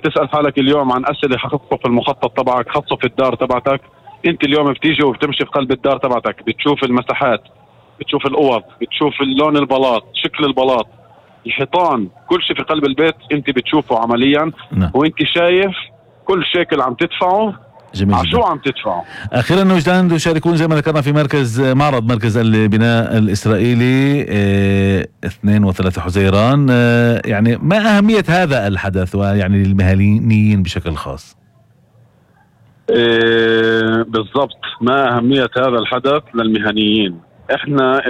تسأل حالك اليوم عن أسئلة خاصة في المخطط تبعك، خاصة في الدار تبعتك. انت اليوم بتيجي وبتمشي في قلب الدار تبعتك، بتشوف المساحات، بتشوف الأوض، بتشوف اللون البلاط، شكل البلاط، الحيطان، كل شيء في قلب البيت انت بتشوفه عمليا. وانت شايف كل شيكل عم تدفعه شو عم تدفعه. اخيرا وجدان تشاركون زي ما ذكرنا في معرض مركز البناء الاسرائيلي 2 و3 حزيران. يعني ما اهمية هذا الحدث ويعني للمهنيين بشكل خاص؟ بالضبط، ما اهمية هذا الحدث للمهنيين. احنا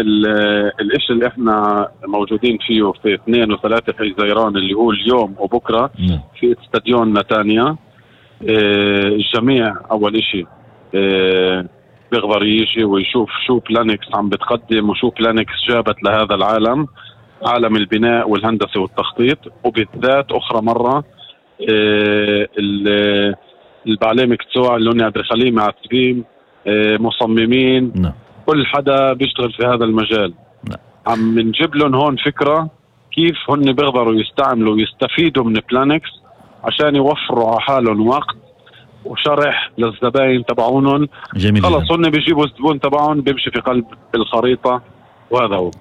الاشي اللي احنا موجودين فيه في 2 و3 حزيران اللي هو اليوم وبكرة في استاديون نتانيا. الجميع اول اشي بيقدر يجي ويشوف شو بلانكس عم بتقدم وشو بلانكس جابت لهذا العالم، عالم البناء والهندسة والتخطيط، وبالذات اخرى مرة البعليه مكتوع اللي هن ادريساليين معتبين مصممين كل حدا بيشتغل في هذا المجال. عم نجيب لهم هون فكرة كيف هن بيقدروا يستعملوا ويستفيدوا من بلانكس عشان يوفروا على حالهم وقت وشرح للزباين تبعونهم. خلص هن بيجيبوا الزبون تبعهم بيمشي في قلب الخريطة، وهذا هو.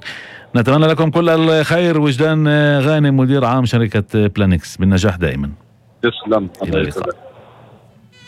نتمنى لكم كل الخير. وجدان غانم مدير عام شركة بلانكس، بالنجاح دائما. تسلم.